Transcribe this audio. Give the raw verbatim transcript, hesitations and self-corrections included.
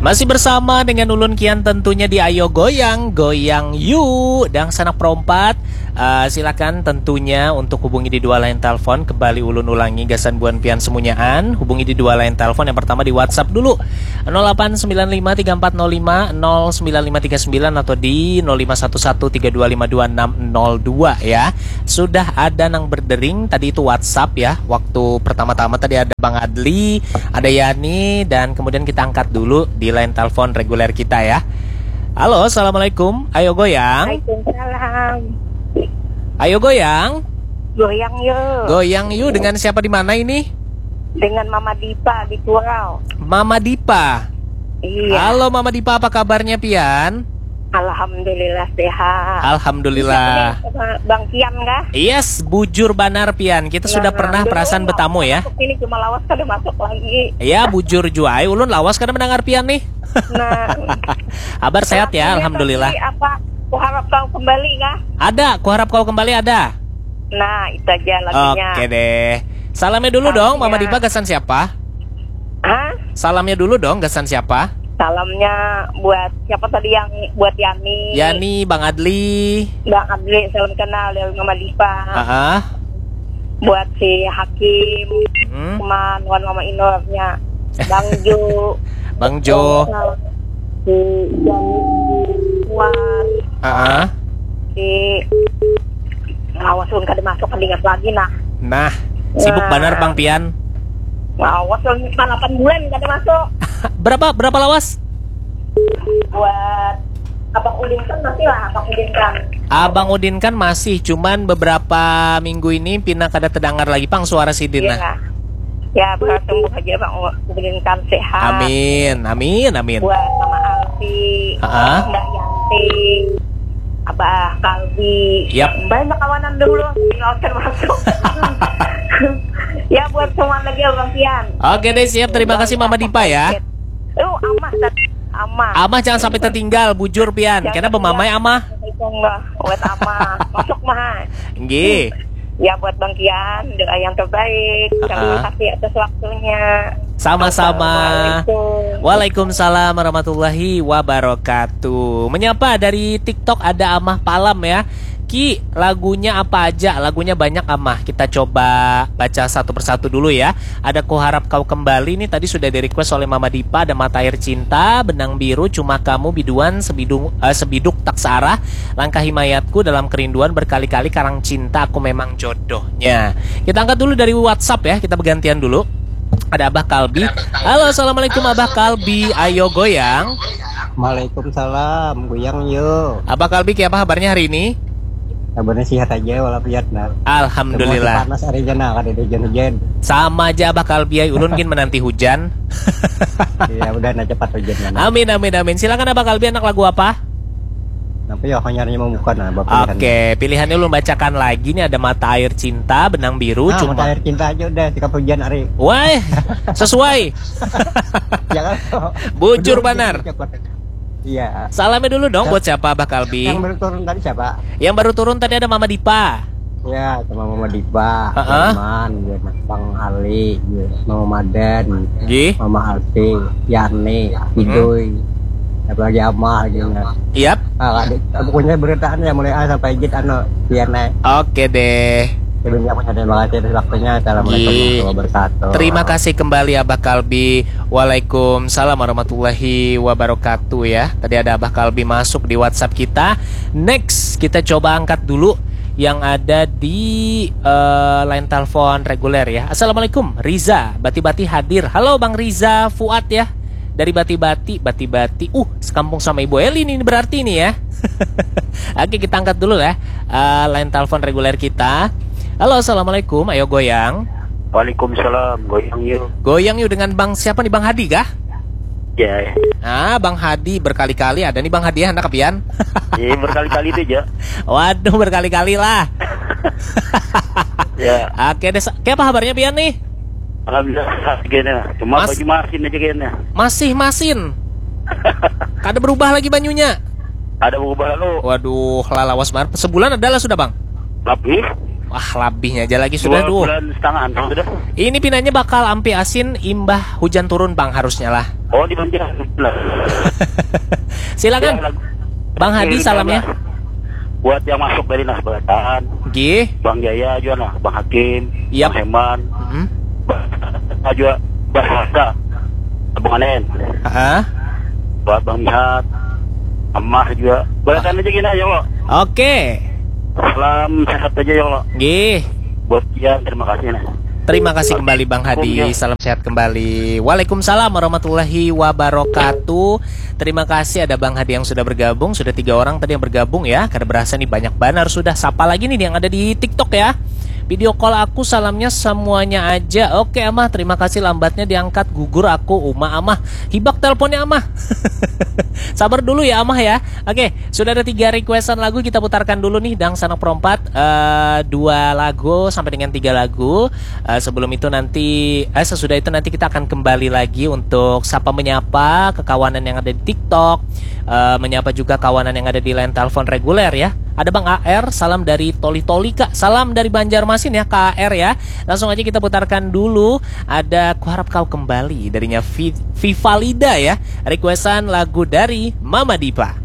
Masih bersama dengan ulun kian tentunya di Ayo Goyang, Goyang Yu, Dangsanak Perompat. Uh, silakan tentunya untuk hubungi di dua line telepon. Kembali ulun ulangi gasan buan pian semunyaan. Hubungi di dua line telepon. Yang pertama di WhatsApp dulu. nol delapan sembilan lima tiga empat nol lima nol sembilan lima tiga sembilan atau di nol lima satu satu tiga dua lima dua enam nol dua ya. Sudah ada nang berdering tadi itu WhatsApp ya. Waktu pertama-tama tadi ada Bang Adli, ada Yani, dan kemudian kita angkat dulu di line telepon reguler kita ya. Halo, assalamualaikum. Ayo goyang. Waalaikumsalam. Ayo goyang. Goyang yuk. Goyang yuk, dengan siapa di mana ini? Dengan Mama Dipa di Kurau. Mama Dipa. Iya. Halo Mama Dipa, apa kabarnya pian? Alhamdulillah sehat. Alhamdulillah. Bisa nih sama Bang Kian kah? Yes, bujur banar pian. Kita sudah Nah, pernah dulu perasaan lawas betamu ya. Masuk sini cuma lawas kada masuk lagi. Ya, bujur jua ai, ulun lawas kada mendengar pian nih. Nah, Kabar sehat ya, lagunya alhamdulillah. Tadi apa? Kuharap kau kembali kah? Ada, kuharap kau kembali ada. Nah, itu aja lagunya. Oke deh. Salamnya dulu dong, Mama Iya. Dipa gasan siapa? Hah? Salamnya dulu dong, gasan siapa? Salamnya buat siapa tadi yang buat Yani? Yani, Bang Adli. Bang Adli, salam kenal dari Mama Dipa. Heeh. Buat si Hakim, Hmm. Kuman, wan Mama Inornya. Bang Jo. Bang Jo. Si Jani, Kuat, Heeh. si Awas ulun kada masuk, kada ingat lagi nah. Nah, sibuk Nah. banar Bang Pian. Awas ulun delapan bulan kada masuk. Berapa berapa lawas? Buat Abang Udin kan masih lah, Abang Udin kan. Abang Udin kan masih, cuman beberapa minggu ini pina kada terdengar lagi pang suara sidin nah. Ya, ya, bertumbuh aja Bang Udin kan sehat. Amin, amin, amin. Buat Mama Alfi, Ha-ha. Mbak Yanti, Abah Kalbi. Yap. Banyak kawanan dulu, tinggal masuk. Ya, buat semua lagi Abang Pian. Oke deh, siap. Terima kasih Mama Dipa ya. Oh, Amah tadi. Amah. Amah jangan sampai tertinggal, bujur pian. Jangan Karena bemamai Amah. Itu enggak, buat Amah. Masuk Mah. Nggih. Ya, buat Bang Kian, doa yang terbaik. Terima Ah. kasih atas waktunya. Sama-sama. Assalamualaikum. Waalaikumsalam warahmatullahi wabarakatuh. Menyapa dari TikTok ada Amah Palam ya. Ki, lagunya apa aja? Lagunya banyak Amah. Kita coba baca satu persatu dulu ya. Ada Kuharap Kau Kembali, ini tadi sudah di-request oleh Mama Dipa. Ada Mata Air Cinta, Benang Biru, Cuma Kamu, Biduan, Sebidung, eh, Sebiduk Tak Searah, Langkah Himayatku, Dalam Kerinduan, Berkali-kali, Karang Cinta, Aku Memang Jodohnya. Kita angkat dulu dari WhatsApp ya, kita bergantian dulu. Ada Abah Kalbi. Halo, assalamualaikum Abah Kalbi. Ayo goyang. Waalaikumsalam, goyang yo. Abah Kalbi, kiapa kabarnya hari ini? Kabarnya sehat aja walafiat nah. Alhamdulillah. Semua panas hari aja nah, kada ada hujan-hujan. Sama aja Abah Kalbi, ay. Ulun gin menanti hujan. Iya, udah nah cepat hujan nah. Amin, amin, amin. Silakan Abah Kalbi, anak lagu apa? Tapi ya hanya mau buka nah, bapak pilihan. Oke, pilihannya ulun bacakan lagi nih, ada Mata Air Cinta, Benang Biru, Nah, Cuma. Mata Air Cinta aja udah sikap hujan hari. Wah, sesuai. Ya kan? Bujur banar. Cepat. Iya. Salamnya dulu dong buat siapa Abah Kalbi? Yang baru turun tadi siapa? Yang baru turun tadi ada Mama Dipa. Ya, sama Mama Dipa, Heeh. Firman, ya, Bang Ali, ya, Mama Madan, Gih. Mama Alfi, Yani, Idoy, apalagi Amah gitu. Nah. Yap. Ah, ada, pokoknya beritaan ya mulai A sampai Z anu, biar naik. Oke deh. Sebelumnya aku terima kasih atas waktunya. Assalamualaikum Gih. Warahmatullahi Wabarakatuh. Terima kasih kembali Abah Kalbi. Waalaikumsalam warahmatullahi wabarakatuh ya. Tadi ada Abah Kalbi masuk di WhatsApp kita. Next, kita coba angkat dulu yang ada di eh, line telepon reguler ya. Assalamualaikum, Riza, Bati-Bati hadir. Halo Bang Riza, Fuad ya. Dari Bati-Bati, Bati-Bati. Uh, sekampung sama Ibu Eli nih berarti nih ya. Oke, kita angkat dulu ya. Eh, line telepon reguler kita. Halo, assalamualaikum. Ayo goyang. Waalaikumsalam, goyang yuk. Goyang yuk dengan Bang siapa nih, Bang Hadi kah? Ya, Ah, Bang Hadi berkali-kali ada nih Bang Hadi ya, anak pian. ya berkali-kali itu aja. Waduh, berkali-kali lah. Ya, Oke deh, sa- kayak apa kabarnya pian nih? Alhamdulillah sehat gini. Cuma Mas- baju masin aja kayaknya. Masih masin. Kada berubah lagi banyunya. Ada berubah lo. Waduh, lah lawas banget. Sebulan ada lah sudah, Bang. Tapi Wah, labihnya aja lagi sudah Dua duh. Bulan setengah sudah. Ini pinanya bakal ampi asin imbah hujan turun, Bang, harusnya lah. Oh, di Banjar lah. Silakan. Ya, lagu- Bang Hadi, Ini salamnya. Buat yang masuk dari Nasbatan, Gih. Bang Jaya juga nah, Bang Hakim, Yap. Bang Heman, Mm-mm. Bang juga Bahasa, Bang Anen, Heeh. buat Bang Mihat, Amah juga. Balakan aja gini ya Allah. Oke. Salam sehat aja ya Allah. Gih. Buat Ian, terima kasih nah. Terima kasih kembali Bang Hadi. Iya. Salam sehat kembali. Waalaikumsalam warahmatullahi wabarakatuh. Terima kasih ada Bang Hadi yang sudah bergabung. Sudah tiga orang tadi yang bergabung ya. Kada berasa nih, banyak banar sudah. Sapa lagi nih yang ada di TikTok ya? Video call aku, salamnya semuanya aja. Oke Amah, terima kasih, lambatnya diangkat, gugur aku. Uma Amah, hibak teleponnya Amah. Sabar dulu ya Amah ya. Oke, sudah ada tiga requestan lagu, kita putarkan dulu nih, Dangsanak Perompat, eh, dua lagu sampai dengan tiga lagu. Eh, sebelum itu nanti, eh, sesudah itu nanti kita akan kembali lagi untuk sapa menyapa kekawanan yang ada di TikTok, eh, menyapa juga kawanan yang ada di line telepon reguler ya. Ada Bang A R, salam dari Toli-Toli Kak, salam dari Banjarmasin ya Kak A R ya. Langsung aja kita putarkan dulu, ada Kuharap Kau Kembali darinya Vi- Vivalida ya. Requestan lagu dari Mama Dipa.